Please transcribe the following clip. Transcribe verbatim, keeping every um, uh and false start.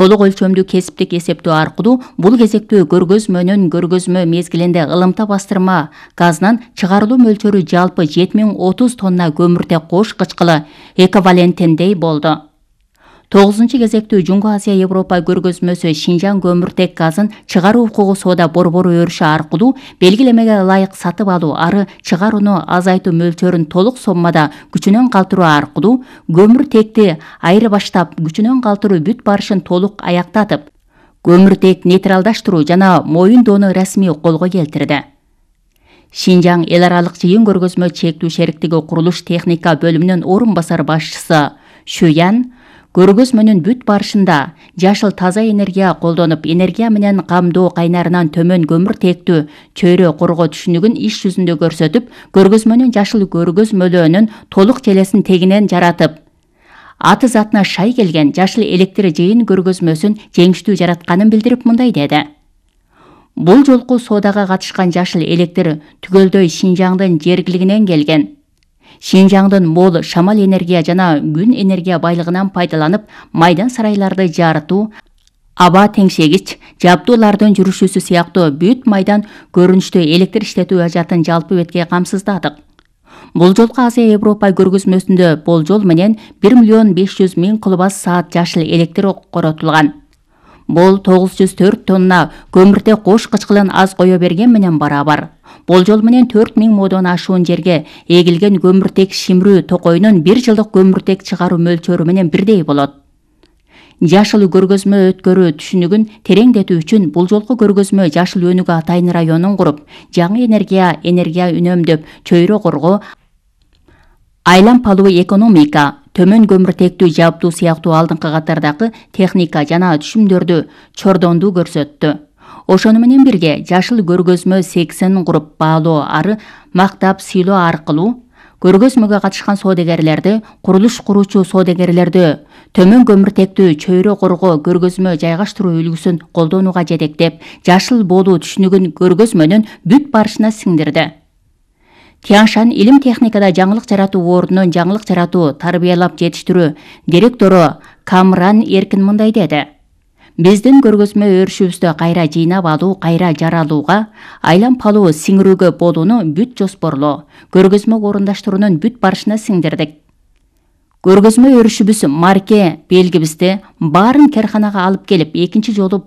Толук өлчөмдүү кесиптик эсептөө аркылуу бул кезектүү көргөзмөнүн көргөзмө мезгилинде ылымта бастырма газынан чыгарылуу мөлчөрү жалпы жети миң отуз тонна көмүртек кош кычкылы эквивалентиндей болду. тогузунчу кезектүү Жуңгу Азия Европа көргөзмөсү Шинжаң көмүртек газын чыгаруу укугу соода борбору өрүшү аркылуу белгилемеге ылайык сатып алуу ары чыгарууну азайтуу мөлчөрүн толук соммада күчүнөн калтыруу аркылуу көмүртекти айырбаштап күчүнөн калтыруу бүт барышын толук аяктатып, көмүртек нейтралдаштыруу жана моюндоону расмий колго келтирди. Шинжаң эл аралык жыйын көргөзмө чектүү шериктиги курулуш техника бөлүмүнүн орун басар башчысы Шуян көргөзмөнүн бүт барышында жашыл таза энергия колдонуп, энергия менен камдоо кайнарынан төмөн көмүртектүү чөйрө коргоо түшүнүгүн иш жүзүндө көрсөтүп, көргөзмөнүн жашыл көргөзмөлөөнүн толук желесин тегинен жаратып, аты затына шай келген жашыл электр жыйын көргөзмөсүн жеңиштүү жаратканын билдирип мындай деди. Бул жолку соодага катышкан жашыл электр түгөлдөй Шинжаңдын жергилигинен келген. Шинжаңдын мол шамал энергия жана күн энергия байлыгынан пайдаланып, майдан сарайларды жарытуу, аба теңшегич жабдуулардын жүрүшүүсү сыяктуу бүт майдан көрүнүштүү электр иштетүү ажатын жалпы бетке камсыздадык. Бул жолку Азия Европа көргөзмөсүндө болжол менен бир миллион беш жүз миң киловатт саат жашыл электр коротулган. Бул тогуз жүз төрт тонна көмүртек кош кычкылын аз кое берген менен барабар. Болжол менен төрт миң модон ашуун жерге эгилген көмүртек шимирүү токойунун бир жылдык көмүртек чыгаруу мөлчөрү менен бирдей болот. Жашыл көргөзмө өткөрүү түшүнүгүн тереңдетүү үчүн бул жолку көргөзмө жашыл өнүгүү атайын районун куруп, жаңы энергия, энергия үнөмдөп, чөйрө коргоо, айлампалуу экономика, төмөн көмүртектүү жабдуу сыяктуу алдыңкы катардагы техника жана түшүмдөрдү чордондуу көрсөттү. Ошону менен бирге жашыл көргөзмө сексен куруп баалоо ары мактап сыйлоо аркылуу көргөзмөгө катышкан соодагерлерди, курулуш куруучу соодагерлерди төмөн көмүртектүү чөйрө коргоо көргөзмө жайгаштыруу үлгүсүн колдонууга жетектеп, жашыл болуу түшүнүгүн көргөзмөнүн бүт барышына сиңдирди. Тяншан илим техникада жаңылык жаратуу ордунун жаңылык жаратуу, тарбиялап жетиштирүү директору Камран Эркин мындай деди. Биздин көргөзмө өрүшүбүздө кайра жыйнап алуу, кайра жаралууга, айлампалуу сиңирүүгө болууну бүт жоспорлоо, көргөзмө орундаштыруунун бүт барышына сиңдирдик. Көргөзмө өрүшүбүз марке белгибизди баарын карханага алып келип, экинчи жолу